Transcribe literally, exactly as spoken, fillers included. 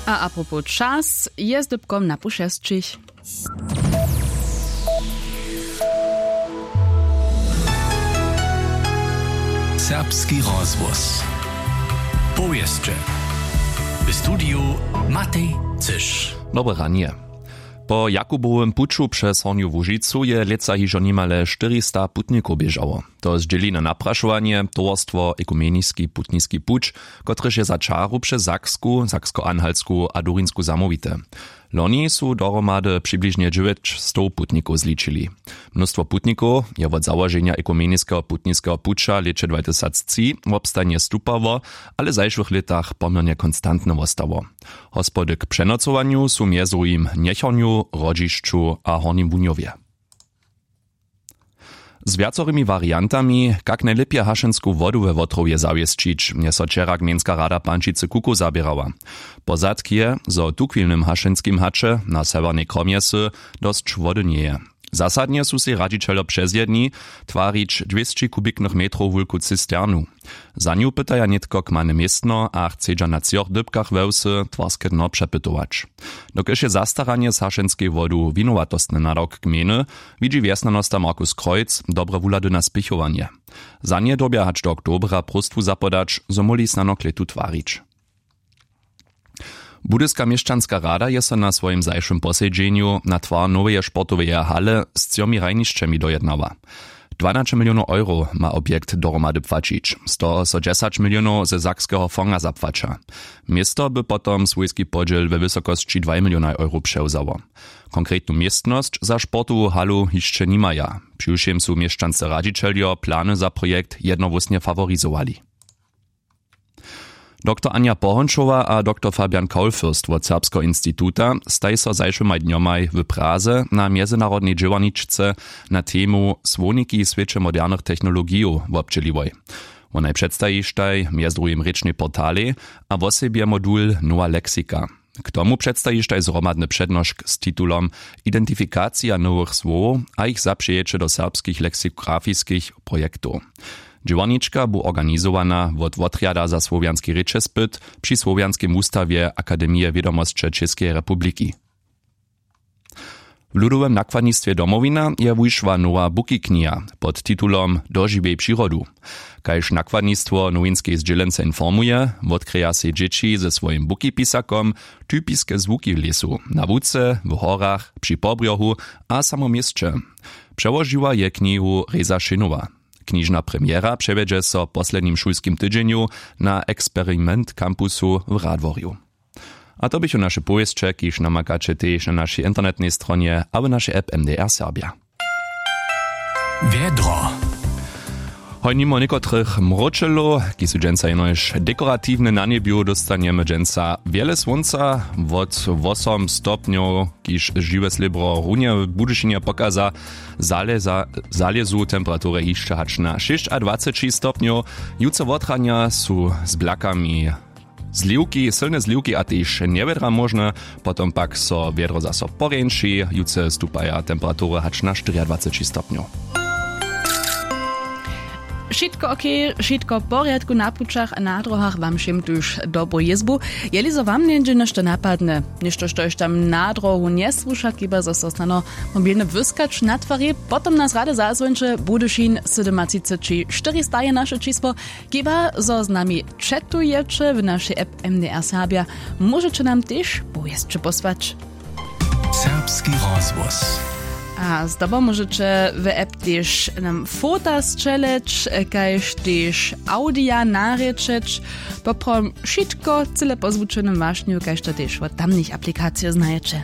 A apropos čas je z dypkom na pół šesćich. Serbski rozhłos. Powěsće. W studiju Matej Cyš. Dobre ranje. Po Jakubowym puću přez Hornju Łužicu je lětsa hižo nimale štyrista putnikow běžało. To zdźěli na naprašowanje towarstwo Ekumeniski putniski puć, kotrež je za čaru přez Saksku, Saksko-Anhaltsku a Durinsku zamołwite. Loni su dohromady přibližnje dźewjećstow putnikow zličili. Mnóstwo putnikow je wot załoženja Ekumeniskeho putniskeho puća w lěće dwatysactři wobstajnje stupało, ale w zašłych lětach poměrnje konstantne wostało. Hospody k přenocowanju su mjez druhim w Njechornju, Hrodźišću a Hornim Wunjowje. Z wjacorymi wariantami, kak najlěpje hašensku wodu we Wotrowje zawěsćić, je so wčera gmejnska rada Pančicy Kukow zaběrała. Pozadk je, zo w tuchwilnym hašenskim haće na sewjernej kromjesy dosć wody njeje. Zasadnje su sej radźićeljo přezjedni twarić dwěsći kubiknych metrow wulku cisternu. Za nju pytaja nětko kmane městno a chcedźa na třoch dypkach we wsy twarske dno přepytować. Dokelž je zastaranje z hašenskej wodu winowatostny nadawk gmejny, widźi wjesnjanosta Markus Kreuz dobre wuhlady na spěchowanje. Za nje dyrbja hač do oktobra próstwu zapodać, zo móhli snano klětu twarić. Budyska měšćanska rada je so na swojim zašłym posedźenju na twar noweje sportoweje hale z třomi hrajnišćemi dojednała. Dwanaće milionow euro ma objekt dohromady płaćić, z toho so dźesać milionow ze sakskeho fonga zapłaća. Město by potom swójski podźěl we wysokosći dwaj milionaj euro přewzało. Konkretnu městnosć za sportowu halu hišće nimaja. Přiwšěm su měšćanscy radźićeljo plany za projekt jednohłósnje faworizowali. Doktor Anja Pohončowa a doktor Fabian Kaulfürst wot Serbskeho instituta staj so zašłymaj dnjomaj w Praze na mjezynarodnej dźěłarničce na temu Słowniki w swěće modernych technologijow wobdźěliłoj. Wonaj předstajištaj mjez druhim rěčnej portalej a wosebje modul Nowa leksika. K tomu předstajištaj zhromadny přednošk z titulom Identifikacija nowych słowow a jich zapřejeće do serbskich leksikografiskich projektow. Dźěłarnička bu organizowana wot Wotrjada za słowjanski rěčespyt při Słowjanskim wustawje Akademije wědomosće Čěskeje republiki. W Ludowym nakładnistwje Domowina je wušła nowa bukikniha pod titulom Dožiwjej přirodu. Kaž nakładnistwo nowinskeje zdźělence informuje, wotkryja sej dźěći ze swojim bukipisakom typiske zwuki w lěsu, na łuce, w horach, při pobrjohu a samo w měsće. Přełožiła je knihu Reza Šinowa. Knižna premjera přewjedźe so w poslednim šulskim tydźenju na Experiment Campusu w Radworju. A to běchu naše powěsće, kiž namakaće tež na našej internetnej stronje abo našej app M D R Serbja. Wjedro. Hoj, nimo někotrych mróčelow, kiž su dźensa jenož dekoratiwne na njebju, dóstanjemy dźensa wjele słónca. Wot wosom stopnjow, kiž žiwe slěbro runje w Budyšinje pokaza, zaleza, zalězu temperatury hišće hač na šěsćadwaceći stopnjow. Jutře wotranja su z blakami zliwki, sylne zliwki a tež njewjedra móžne, potom pak so wjedro zaso porjeńši. Jutře stupaja temperatury hač na štyriadwaceći stopnjow. Wšitko ok, wšitko w porjadku na pućach a na dróhach, wam wšěm tuž dobru jězbu. Jeli zo wam něhdźe něšto napadnje, něšto, štož tam na dróhu njesłuša, chiba zo so snano mobilnje wyskać na twari, potom nas rady zazwońće. Budyšin sydomatřiceći štyri staje naše čisło. Chiba zo z nami četowaće w našej app M D R Serbja, móžeće nam tež powěsće posłać. Serbski rozhłos. A zdobom móžeće w app tež nam fota sćeleć, kaž tež awdija narěčeć. Poprawom wšitko cyle po zwučenym wašnju, kaž to tež wot tamnych aplikacijow znajeće.